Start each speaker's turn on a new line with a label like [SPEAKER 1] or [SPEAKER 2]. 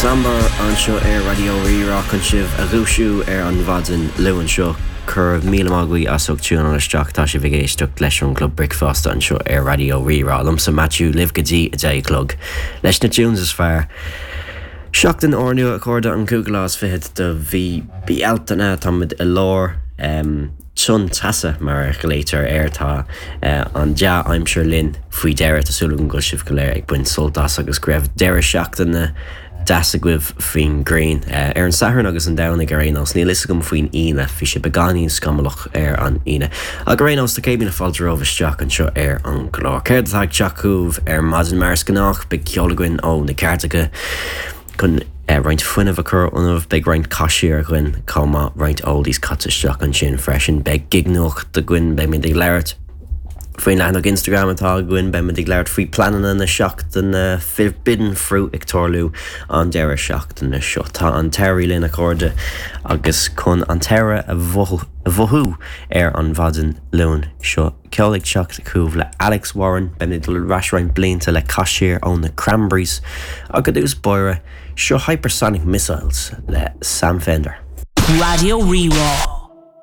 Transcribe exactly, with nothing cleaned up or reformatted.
[SPEAKER 1] Slumber anseo ar Raidió Rí-Rá chun sibh a dhúisiú ar an mhaidin Luain seo cur míle maith as ucht tiúnáil isteach tá sibh ag éisteacht leis an gClub Bricfeasta anseo ar Raidió Rí-Rá. Liomsa Matthew libh go dtí a deich a chlog. Leis na tunes is fearr. Seachtain úrnua a chairde an cúigiú lá is fiche de mhí Bealtaine táimid i lár um, tonn teasa mar a ghlaoitear air tá uh, an dea-aimsir linn faoi deireadh tá súil agam go bhfuil sibh go léir ag baint sult as agus go raibh deireadh seachtaine deas agaibh faoin ngrian uh, ar an Satharn agus an Domhnach ar aon nós níl a fhios agam faoin Aoine bhí sé beagáinín scamallach ar an Aoine. Ach ar aon nós tá céad míle fáilte romhaibh isteach anseo ar an gclár. Céard atá ag teacht chugaibh ar maidin mar is gnách beidh ceol againn ó na cairteacha chun uh, roinnt fuinnimh a chur ionaibh, beidh roinnt caisiir againn chomh maith roinnt oldies caite isteach ansin freisin, beidh gignuacht againn beidh muid ag labhairt faoin leathanach Instagram atá againn beimid ag labhairt faoi pleananna na seachtaine Forbidden Fruit ag tarlú an deireadh seachtaine seo. Tá an t-earrach linn a chairde agus chun an t-earrach a mhothú ar an mhaidin Luain seo. Ceol ag teacht chugaibh le Alex Warren, beimid ag dul ar ais roinnt blianta le caisiir ó na Cranberries agus dús báire seo Hypersonic Missiles le Sam Fender.
[SPEAKER 2] Raidió Rí-Rá.